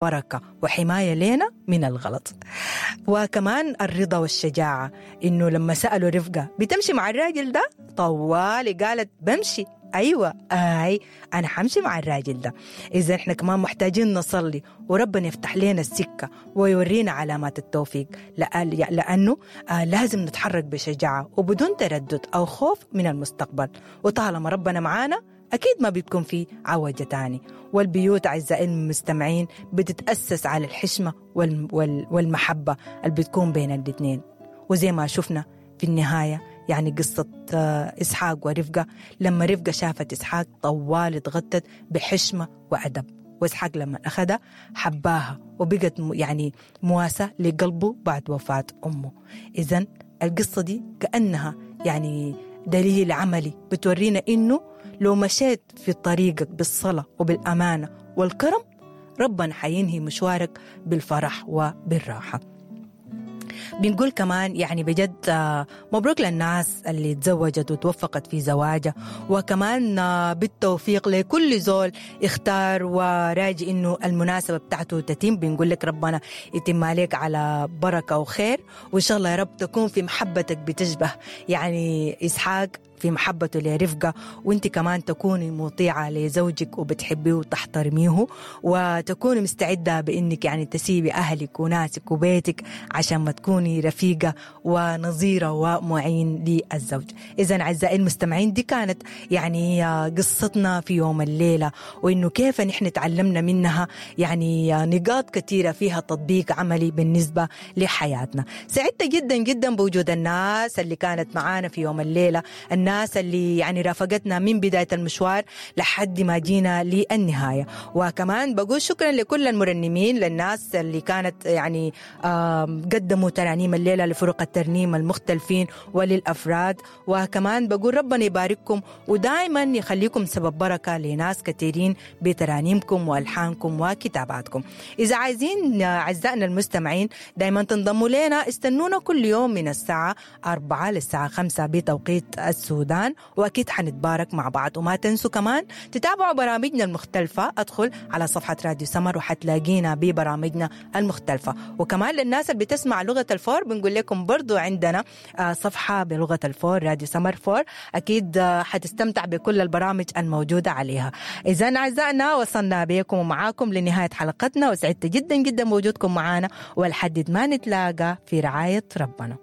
بركة وحماية لنا من الغلط. وكمان الرضا والشجاعة، إنه لما سألوا رفقة بتمشي مع الراجل ده، طوالي قالت بمشي، أيوة آي أنا حمشي مع الراجل ده. إذا إحنا كمان محتاجين نصلي وربنا يفتح لنا السكة ويورينا علامات التوفيق، لأنه لازم نتحرك بشجاعة وبدون تردد أو خوف من المستقبل، وطالما ربنا معانا أكيد ما بتكون في عوجة تاني. والبيوت أعزائي المستمعين بتتأسس على الحشمة والمحبة اللي بتكون بين الاثنين. وزي ما شفنا في النهاية يعني قصة إسحاق ورفقة، لما رفقة شافت إسحاق طوال اتغطت بحشمة وأدب، وإسحاق لما أخذها حباها وبقت يعني مواساة لقلبه بعد وفاة أمه. إذن القصة دي كأنها يعني دليل عملي بتورينا إنه لو مشيت في طريقك بالصلاة وبالأمانة والكرم ربنا حينهي مشوارك بالفرح وبالراحة. بنقول كمان يعني بجد مبروك للناس اللي تزوجت وتوفقت في زواجها، وكمان بالتوفيق لكل زول اختار وراجي انه المناسبة بتاعته تتم. بنقول لك ربنا يتم عليك على بركة وخير، وان شاء الله يا رب تكون في محبتك بتشبه يعني إسحاق في محبته لرفقة، وانت كمان تكوني مطيعة لزوجك وبتحبيه وتحترميه، وتكوني مستعدة بانك يعني تسيبي اهلك وناسك وبيتك عشان ما تكوني رفيقة ونظيرة ومعين للزوج. اذا اعزائي المستمعين دي كانت يعني قصتنا في يوم الليلة، وانه كيف نحن تعلمنا منها يعني نقاط كثيرة فيها تطبيق عملي بالنسبة لحياتنا. سعدت جدا جدا بوجود الناس اللي كانت معانا في يوم الليلة، الناس اللي يعني رافقتنا من بداية المشوار لحد ما جينا للنهاية. وكمان بقول شكرا لكل المرنمين، للناس اللي كانت يعني قدموا ترانيم الليلة لفرق الترنيم المختلفين وللأفراد. وكمان بقول ربنا يبارككم ودائما يخليكم سبب بركة لناس كثيرين بترانيمكم وألحانكم وكتاباتكم. إذا عايزين أعزائنا المستمعين دائما تنضموا لنا، استنونا كل يوم من الساعة 4 للساعة 5 بتوقيت السودان، وأكيد حنتبارك مع بعض. وما تنسوا كمان تتابعوا برامجنا المختلفة، أدخل على صفحة راديو سمر وحتلاقينا ببرامجنا المختلفة. وكمان للناس اللي بتسمع لغة الفور بنقول لكم برضو عندنا صفحة بلغة الفور راديو سمر فور، أكيد حتستمتع بكل البرامج الموجودة عليها. إذا أعزائنا وصلنا بكم ومعاكم لنهاية حلقتنا، وسعدت جدا جدا بوجودكم معنا، ولحد ما نتلاقى في رعاية ربنا.